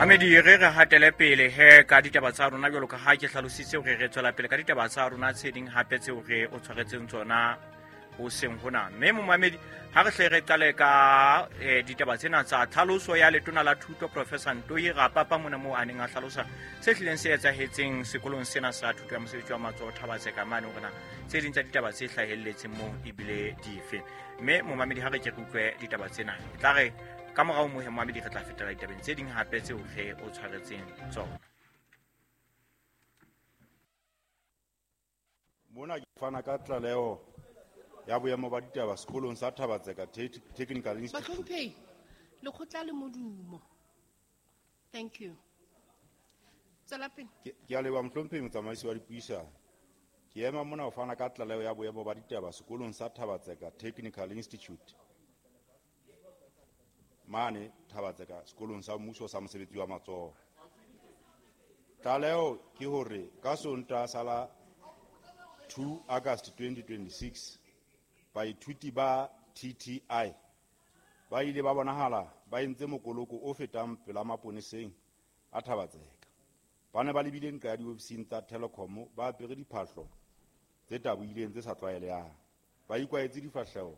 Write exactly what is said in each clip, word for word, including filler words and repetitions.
Mamedi, re re hatele pele he ka ditaba tsa rona jwalo ka ha ke hlalositse hore re tswela pele ka ditaba tsa rona tse ding hape tseo re o tshwaretseng tsona hoseng hona. Mme momamedi, ha re hle re qale ka eh, ditaba tsena tsa tlhaloso ya letona la thuto Professor Ntoi Rapapa mona moo a neng a hlalosa se hlileng se etsahetseng sekolong sena sa thuto ya mosebetsi wa matsoho Thabatseka mane, hore na tse ding tsa ditaba tse hlahelletseng moo ebile dife. Mme momamedi, ha re ke re utlwe ditaba tsena, e tla re ka morao mohe momamedi re tla fetela ditabeng tse ding hape tseo re o tshwaretseng tsona. Mona ke fana ka tlaleho ya boemo ba ditaba sekolong sa Thabatseka Technical Institute. Bahlomphehi, lekgotla le modumo. Thank you. Tswela pele. Ke ke a leboha mohlomphehi motsamaisi wa dipuisano. Ke ema mona ho fana ka tlaleho ya boemo ba ditaba sekolong sa Thabatseka Technical Institute. Mane Thabatseka sekolong sa mmuso sa mosebetsi wa matsoho. Tlaleho ke hore ka Sontaha sa la two August twenty twenty-six baithuti ba T T I ba ile ba bonahala ba entse mokoloko o fetang pela maponeseng a Thabatseka. Ba ne ba lebile nqa ya diofising tsa Telkom ba apere diphahlo tse tabohileng tse sa tlwaelehang. Ba ikwaetse difahleho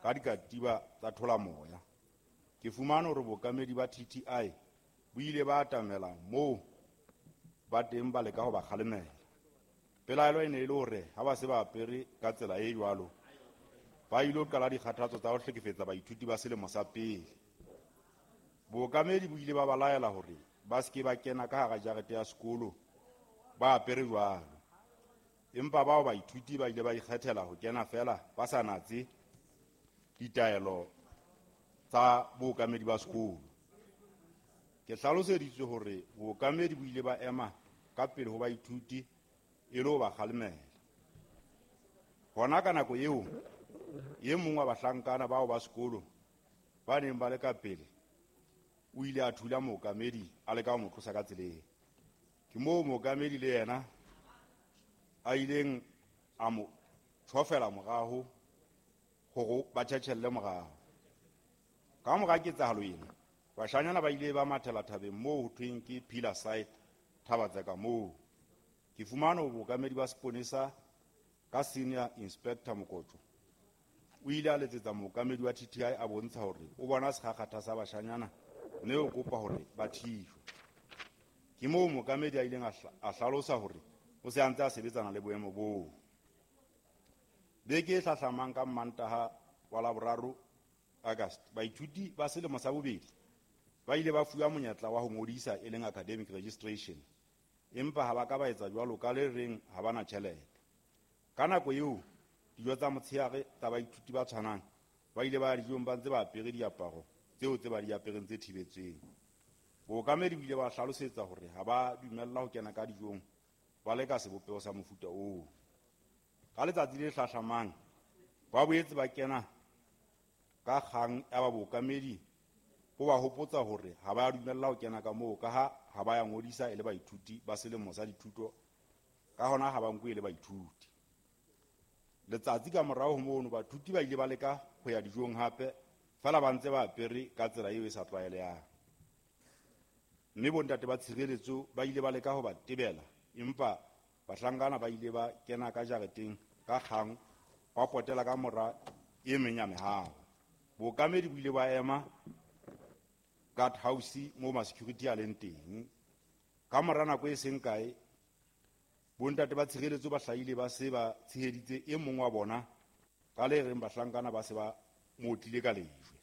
ka dikatiba tsa tholamoya. Ke fumane hore bookamedi ba T T I bo ile ba atamela moo ba teng ba leka ho ba kgalemela. Pelaelo e ne e le hore ha ba se ba apere ka tsela e jwalo, ba ilo qala dikgathatso tsa ho hlekefetsa baithuti ba selemo sa pele. Bookamedi bo ile ba ba laela hore ba se ke ba kena ka hara jarete ya sekolo ba apere jwalo. Empa bao baithuti ba ile ba ikgethela ho kena feela ba sa natse ditaelo tsa bookamedi ba sekolo. Ke hlaloseditswe hore bookamedi bo ile ba ema ka pele ho baithuti e le ho ba kgalemela. Hona ka nako eo, e mong wa bahlankana bao ba sekolo ba neng ba le ka pele o ile a thula mookamedi a leka ho mo tlosa ka tseleng. Ke moo mookamedi le yena a ileng a mo tjhofela morao hore ba tjhetjhelle morao. Ka mora ketsahalo ena, bashanyana ba ile ba mathela thabeng moo ho thweng ke Pillar Side Thabatseka moo. Ke fumane hore bookamedi ba seponesa ka Senior Inspector Mokotjo o ile a letsetsa mookamedi wa T T I a bontsha hore o bona sekgakgatha sa bashanyana mme o kopa hore ba thijwe. Ke moo mookamedi a ileng a hla-, a hlalosa hore o se a ntse a sebetsana le boemo boo. Beke e hlahlamang ka Mmantaha wa Laboraro August, baithuti ba selemo sa bobedi ba ile ba fuwa monyetla wa ho ngodisa e leng academic registration, empa ha ba ka ba etsa jwalo ka le reng ha ba na tjhelete. Ka nako eo, dijo tsa motshehare tsa baithuti ba tshwanang ba ile ba ya dijong ba ntse ba apere diaparo tseo tse ba di apereng tse thibetsweng. Bookamedi bo ile ba hlalosetsa hore ha ba dumella ho kena ka dijong ba leka sebopeho sa mofuta oo. Ka letsatsi le hlahlamang ba boetse ba kena ka kgang ya ba bookamedi bo ba hopotsa hore ha ba dumella ho kena ka moo ka ha ha ba ya ngodisa e le baithuti ba selemo sa dithuto, ka hona ha ba nkuwe e le baithuti. Letsatsi ka morao ho mono baithuti ba ile ba leka ho ya dijong hape feela ba ntse ba apere ka tsela eo e sa tlwaelehang. Mme bontate ba tshireletso ba ile ba leka ho ba tebela, empa bahlankana ba ile ba kena ka jareteng ka kgang ba potela ka mora e meng ya mehaho. Bookamedi bo ile ba ema guard house moo ma-security a leng teng. Ka mora nako e seng kae, bontate ba tshireletso ba hlahile ba se ba tsheheditse e mong wa bona ka le reng bahlankana ba se ba mo otlile ka lejwe.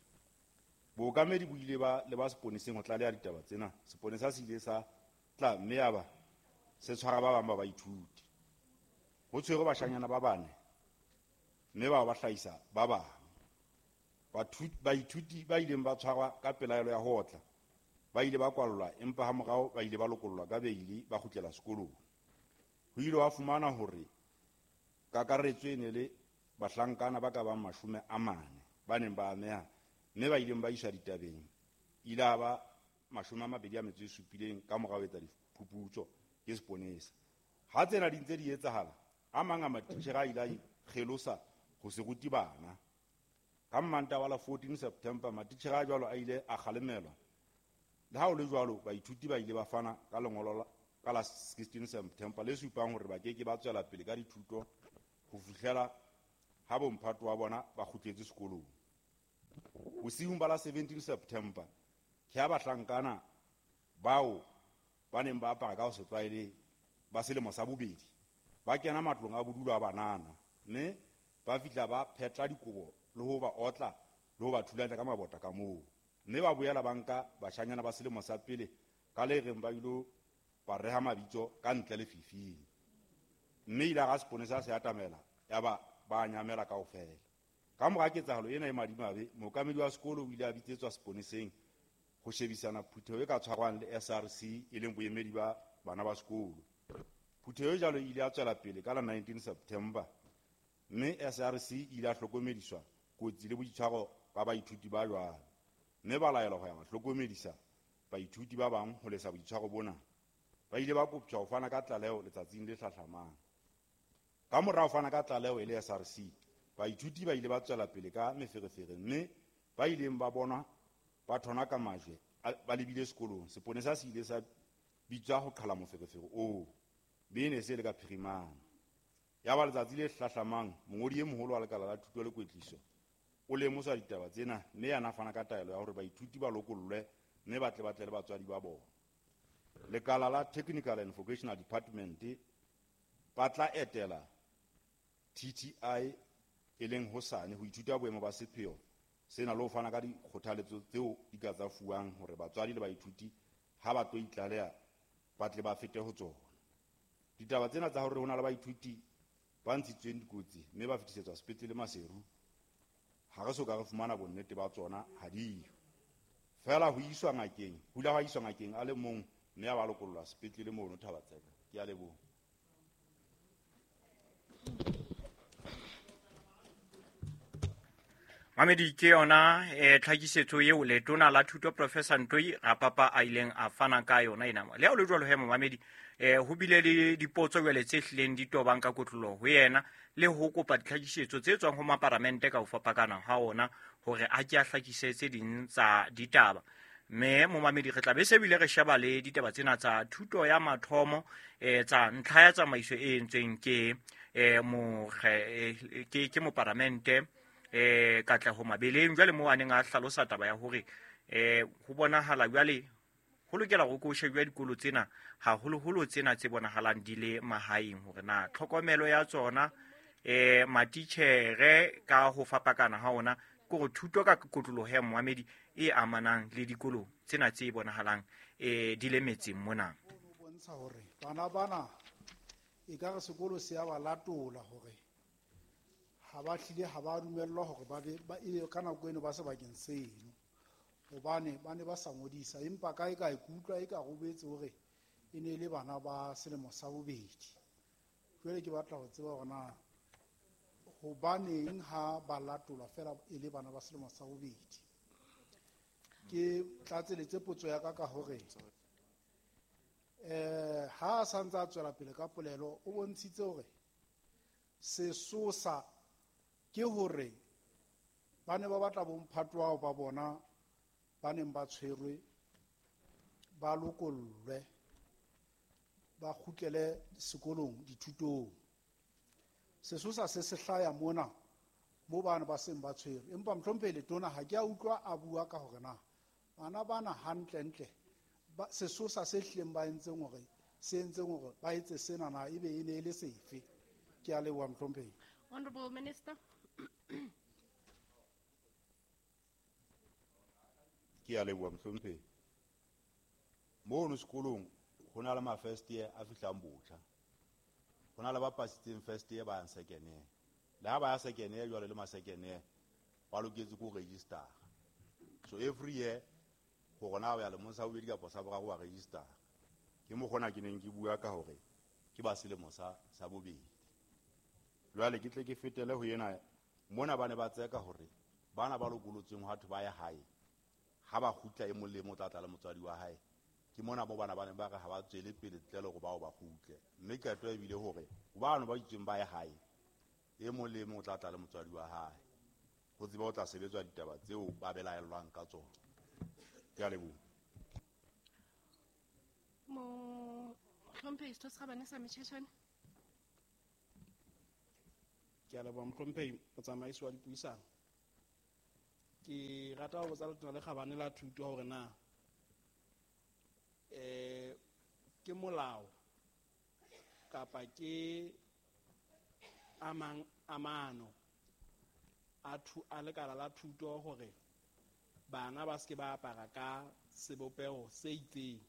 Bookamedi bo ile ba leba seponeseng ho tlaleha ditaba tsena. Seponesa se ile sa tla mme ya ba se tshwara ba bang ba baithuti. Ho tshwerwe bashanyana ba bane mme bao ba hlahisa ba bang. Bathu-, baithuti ba ileng ba tshwarwa ka pelaelo ya ho otla ba ile ba kwallwa, empa hamorao ba ile ba lokollwa ka beili ba kgutlela sekolong. Ho ile wa fumana hore kakaretso e ne le bahlankana ba ka bang mashome a mane ba neng ba ameha, mme ba ileng ba iswa ditabeng ile a ba mashome a mabedi a metso e supileng ka morao ho etsa diphuputso ke seponesa. Ha tsena di ntse di etsahala, a mang a matitjhere a ile a ikgelosa ho se rute bana. Ka Mmantaha wa la fourteen September, matitjhere a jwalo a ile a kgalemelwa le Le ha ho le jwalo, baithuti ba ile ba fana ka lengolo ka la sixteen September le supang hore ba ke ke ba tswela pele ka dithuto ho fihlela ha bomphato wa bona ba kgutletse sekolong. Bosiung ba la seventeen September ke ha bahlankana bao ba neng ba apara ka ho se tlwaele ba selemo sa bobedi ba kena matlong a bodulo a banana mme ba fihla ba phetla dikobo le ho ba otla le ho ba thulanya ka mabota ka moo, mme ba boela ba nka bashanyana ba selemo sa pele ka le reng ba ilo ba reha mabitso ka ntle lefifing, mme ile ga seponesa se atamela ya ba ba nyamela kaofela. Ka mora ketsahalo ena e madimabe, mookamedi wa sekolo o ile a bitsetswa seponeseng ho shebisana phutheho e ka tshwarwang le S R C e leng boemedi ba bana ba sekolo. Phutheho e jwalo e ile ya tswela pele ka la nineteen September, mme S R C e ile ya hlokomediswa kotsi le boitshwaro ba baithuti ba jwalo, mme ba laelwa ho ya ba hlokomedisa baithuti ba bang ho lesa boitshwaro bona. Ba ile ba koptjwa ho fana ka tlaleho letsatsing le hlahlamang. Ka mora ho fana ka tlaleho e le S R C, baithuti ba ile ba tswela pele ka meferefere, mme ba ileng ba bonwa ba thona ka majwe ba lebile sekolong. Seponesa se ile sa bitswa ho qhala moferefere oo, be ne se le ka phirimana. Ya ba letsatsi le hlahlamang, mongodi e moholo wa lekala la thuto le kwetliso o lemoswa ditaba tsena, mme yena a fana ka taelo ya hore baithuti ba lokollwe mme ba tle ba tle le batswadi ba bona. Lekala la Technical and Vocational Department ba tla etela T T I e leng hosane ho ithuta boemo ba sepheo sena le ho fana ka dikgothaletso tseo di ka tsa fuwang hore batswadi le baithuti ha ba tlo itlaleha ba tle ba fete ho tsona. Ditaba tsena tsa hore ho na le baithuti ba ntshitsweng dikotsi mme ba fetisetswa sepetlele Maseru, ha re so ka re fumana bonnete ba tsona, ha diyo. Feela ho iswa ngakeng, ho ile ha iswa ngakeng a le mong mme a ba lokollwa sepetlele mono Thaba-Tseka. Ke a leboha. Mamedi, ke yona eh, tlhakisetso eo letona la thuto Professor Ntoi Rapapa a ileng a fana ka yona ena. Le ha ho le jwalo he momamedi, eh, ho bile le dipotso jwale tse hlileng di tobang ka kotloloho ho yena le ho kopa ditlhakisetso tse tswang ho maparamente ka ho fapakana ha ona hore a ke a hlakise tse ding tsa ditaba. Mme momamedi, re tla be se bile re sheba le ditaba tsena tsa thuto ya mathomo eh, tsa ntlha ya tsamaiso e entsweng ke eh, mokge, ke, ke moparamente eh Katleho Mabeleng. Jwale moo a neng a hlalosa taba ya hore eh ho bonahala jwale ho lokela hore ko shebjwa dikolo tsena haholoholo tsena tse bonahalang di le mahaeng, hore na tlhokomelo ya tsona eh matitjhere ka ho fapakana ha ona ke hore thuto ka kotloloho ya moamedi e amanang le dikolo tsena tse bonahalang eh di le metseng mona. Ho bontsha hore bana bana e ka re sekolo se ya ba latola hore ha ba hlile ha ba dumellwa hore ba be ba ebe ka nako eno ba sebakeng seno, hobane ba ne ba sa ngodisa, empa kae kae ke utlwa e ka robetse hore e ne e le bana ba selemo sa bobedi. Jwale ke batla ho tseba hore na hobaneng ha ba latolwa feela e le bana ba selemo sa bobedi. Ke tlatseletse potso ya ka ka hore eh ha a santse a tswela pele ka polelo, o bontshitse hore sesosa ke hore ba ne ba batla bomphato bao ba bona ba neng ba tshwerwe ba lokollwe ba kgutlele sekolong dithutong. Sesosa se se hlaya mona mo bana ba seng ba tshwerwe, empa mohlomphehi letona ha ke a utlwa a bua ka hore na bana bana hantlentle sesosa se hlileng ba entseng hore se entseng hore ba etse sena na ebe e ne e le sefe. Ke a leboha mohlomphehi. Honorable Minister. Ke a leboha mohlomphehi. Mono sekolong ho na le ma first year a fihlang botjha. Ho na le ba pasitseng first year ba yang second year. Le ha ba ya second year jwale le ma second year ba loketse ko register. So every year hore na o ya lemong sa bobedi kapa sa boraro wa register. Ke mo kgona ke neng ke bua ka hore ke ba selemo sa sa bobedi. Jwale ke tle ke fetele ho ena mona ba ne ba tseka hore bana ba lokolotsweng ha batho ba ya hae ha ba kgutla e mong le mong o tla tla le motswadi wa hae. Ke mona bo bana ba ne ba re ha ba tswele pele ntle le hore bao ba kgutle, mme qeto e bile hore bano ba itsweng ba ye hae e mong le mong o tla tla le motswadi wa hae ho tseba ho tla sebetswa ditaba tseo ba belaellwang ka tsona. Ke a leboha. Mohlomphehi Setho se Kgabane sa Motjhetjhane. Ke a leboha mohlomphehi motsamaisi wa dipuisano. Ke rata ho botsa Letona le Kgabane la Thuto hore na eh ke molao kapa ke amang amano a thu a lekala la thuto hore bana ba se ke ba apara ka sebopeho se itseng.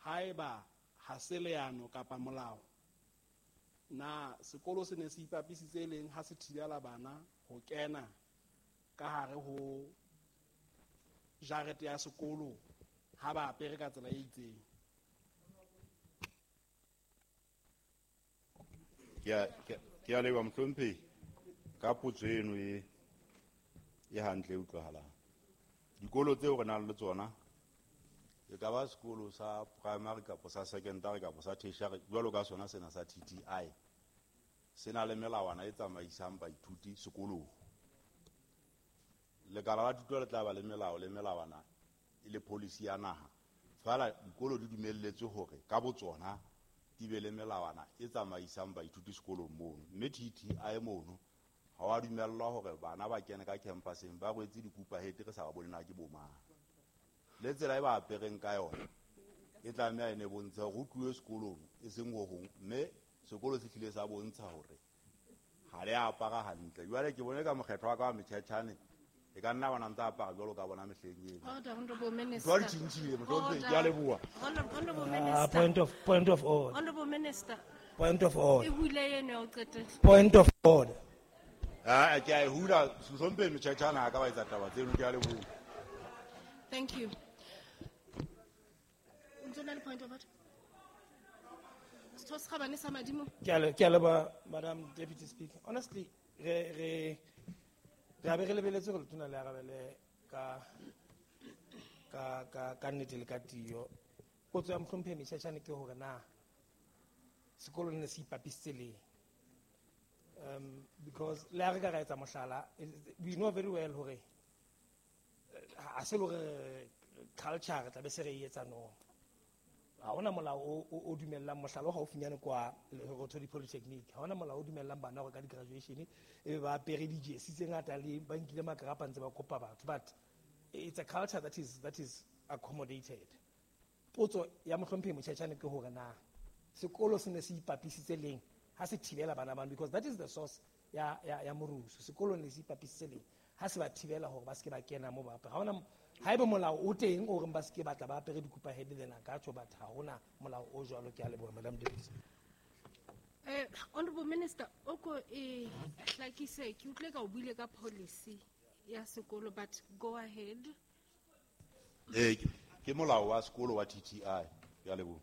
Haeba ha se leano kapa molao, na sekolo se ne se ipapisitse leng ha se thibela bana ho kena ka hare ho jarete ya sekolo ha ba apere ka tsela e itseng? Ke a leboha mohlomphehi ka potso eno e e hantle e utlwahalang. Dikolo tseo re nang le tsona e ka ba sekolo sa primary kapa sa secondary kapa sa tertiary, jwalo ka sona sena sa T T I, se na le melawana e tsamaisang baithuti sekolong. Lekala la thuto le tla ba le melao le melawana e le policy ya naha. Fela dikolo di dumelletswe hore ka botsona di be le melawana e tsamaisang baithuti sekolong mono. Mme T T I mono ha wa dumellwa hore bana ba kene ka campuseng ba rwetse dikupa hete re sa ba bone na ke bo mang. Le tsela e ba apereng ka yona e tlameha e ne bontsha hore ho tluwe sekolong e seng ho hong, mme sekolo se hlile sa bontsha hore ha le apara hantle. Jwale ke bone ka mokgetho wa ka wa Motjhetjhane e ka nna bona ntse apara jwalo ka bona mehleng eno. Order, Honorable Minister. Jwale tjhintjhile mohlomphehi, ke a leboha. Honorable Uh, Minister. point of point of order. Honorable Minister. Point of order. E hule eno ya ho qetela. Point of order. Ah, ke a e hula mohlomphehi Motjhetjhane ha ka ba etsa taba tseno, ke a leboha. Thank you. O ntso na le point of order? Setho se Kgabane sa Madimo. Ke a le- ke a leboha, Madam Deputy Speaker. Honestly, re re re a be re lebeletse hore letona le arabele ka ka ka ka nnete le ka tiyo. Potso ya mohlomphehi Motjhetjhane ke hore na sekolo ne se ipapisitse leng? Um, because le ha re ka ra etsa mohlala, we know very well hore ha se le hore culture re tla be se re e etsa no. Ha hona molao o, o, o dumellang mohlala o haufinyane kwa Lerothodi Polytechnic. Ha hona molao o dumellang bana hore ka di-graduation e be ba apere di-jersey tse ngata le ba nkile makrapa ntse ba kopa batho. But it's a culture that is, that is accommodated. Potso ya mohlomphehi Motjhetjhane ke hore na sekolo se ne se ipapisitse leng ha se thibela bana bano, because that is the source ya, ya, ya morusu. Sekolo ne se ipapisitse leng ha se ba thibela hore ba se ke ba kena moo ba apere. Ha hona, haeba molao o teng o reng ba se ke batla ba apere dikupa head, then a ka tjho, but ha hona molao o jwalo. Ke a leboha, Madam Deputy Speaker. Eh, Honorable Minister, o ko e hlakise, ke utlwe ka o buile ka policy ya sekolo, but go ahead. Eh, ke molao wa sekolo wa T T I. Ke a leboha.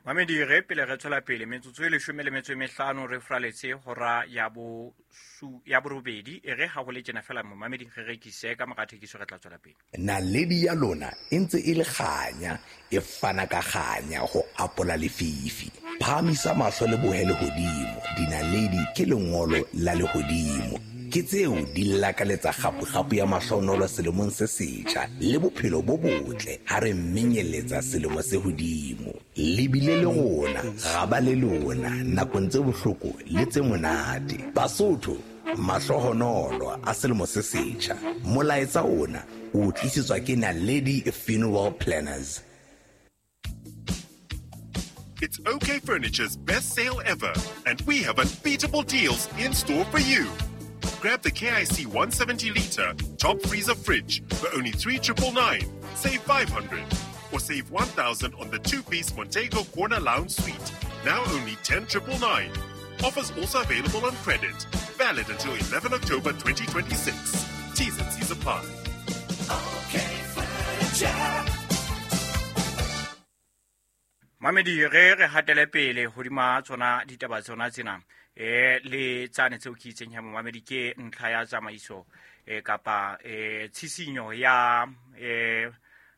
Mamedi, re pele re tswela pele metsotso e leshome le metso e mehlano re fraletse hora ya bo su, ya borobedi. E re ha ho le tjena fela momamedi re rekise ka mora thekiso re tla tswela pele. Naledi ya lona e ntse e le kganya, e fana ka kganya ho apola lefifi. Phahamisa mahlo le bohe lehodimo, dinaledi ke lengolo la lehodimo. Ke tseo di lakaletsa kgapu-kgapu ya mahlonolo selemong se setjha le bophelo bo botle ha re menyeletsa selemo se hodimo. Le bile le rona, ra ba le lona nakong tse bohloko le tse monate. Basotho, mahlohonolo a selemo se setjha. Molaetsa ona o tlisetswa ke Naledi Funeral Planners. It's OK Furniture's best sale ever, and we have unbeatable deals in store for you. Grab the K I C one seventy liter top freezer fridge for only three triple nine, save five hundred, or save one thousand on the two-piece Montego Corner Lounge Suite, now only ten triple nine. Offers also available on credit. Valid until eleven October twenty twenty-six. T's and C's apply. Okay, furniture. Mamedi, re re hatele pele hodima tsona ditaba tsona tsena. Eh, le tsane tseo ke itseng ya momamedi ke ntlha ya tsamaiso, eh, kapa, eh, tshisinyo ya, eh,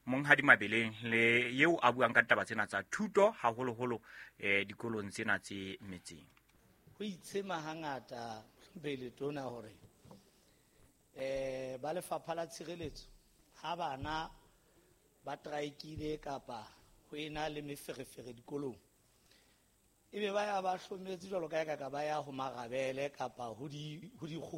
Monghadi Mabeleng le eo a buang ka taba tsena tsa thuto haholoholo, eh, dikolong tsena tse metseng. Ho itshema hangata pele tona hore, eh, ba lefapha la tshireletso ha bana ba traekile kapa ho ena le meferefere dikolong, ebe ba ya ba hlometse jwalo ka eka ka ba ya ho marabele kapa ho di ho dikgoho.